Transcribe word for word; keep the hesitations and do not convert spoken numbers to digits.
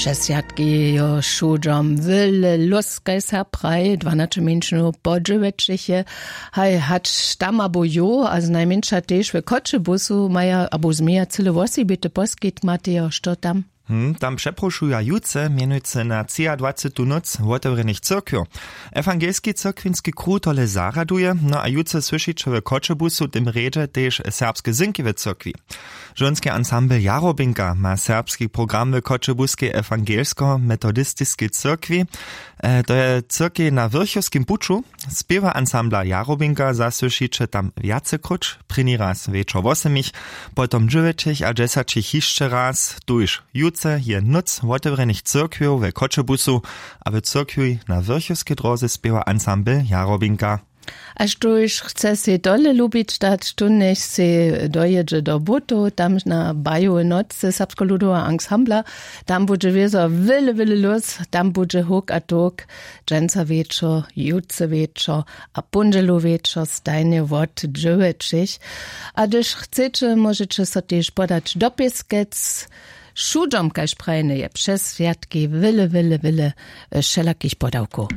Přeswjatki jo šudźom wyle lóskaj serb praji dwanaće mjeńšinow po dźewjećich je. Haj hač tam abo jo a znajmjeńša tež w choćebusu maja abo změja cyle wosebity poskitk matejo što tam? Hm, tam přeprošuja jutře mjenujcy na třiadwacetu nóc wotewrjenych cyrkwjow. Ewangelski cyrkwinski kruh tole zarjaduje no a jutře słyšiće w choćebusu w tym rjedźe tež serbske synki w cyrkwi. Žonski ansambl jarobinka ma serbski program w choćebuskej ewangelsko-metodistiskej cyrkwi. To je cyrkej na wyrchowskim puću. Spěwa ansambla jarobinka zasłyšiće tam wjacekróć, prěni raz wječor wosemich, potom dźewjećich a dźesaćich hišće raz. Tuž jutře je nóc wotewrjenych cyrkwjow w choćebusu a w cyrkwi na wyrchowskej dróze spěwa ansambl jarobinka. A štóž chce sej tole lubić dać, tónjech sej dojědźe do butow tam na bajowe nocy serbskeho ludoweho ansambla. Tam budźe wězo wyle wyle lós. Tam budźe huk a tok, dźensa wječor, jutře wječor a póndźelu wječor stajnje wot dźewjećich. A hdyž chceće móžeće so tež podać do pěskec. Šudźom kaž prajene je přez swjatki wyle wyle wyle wšelakich podawkow.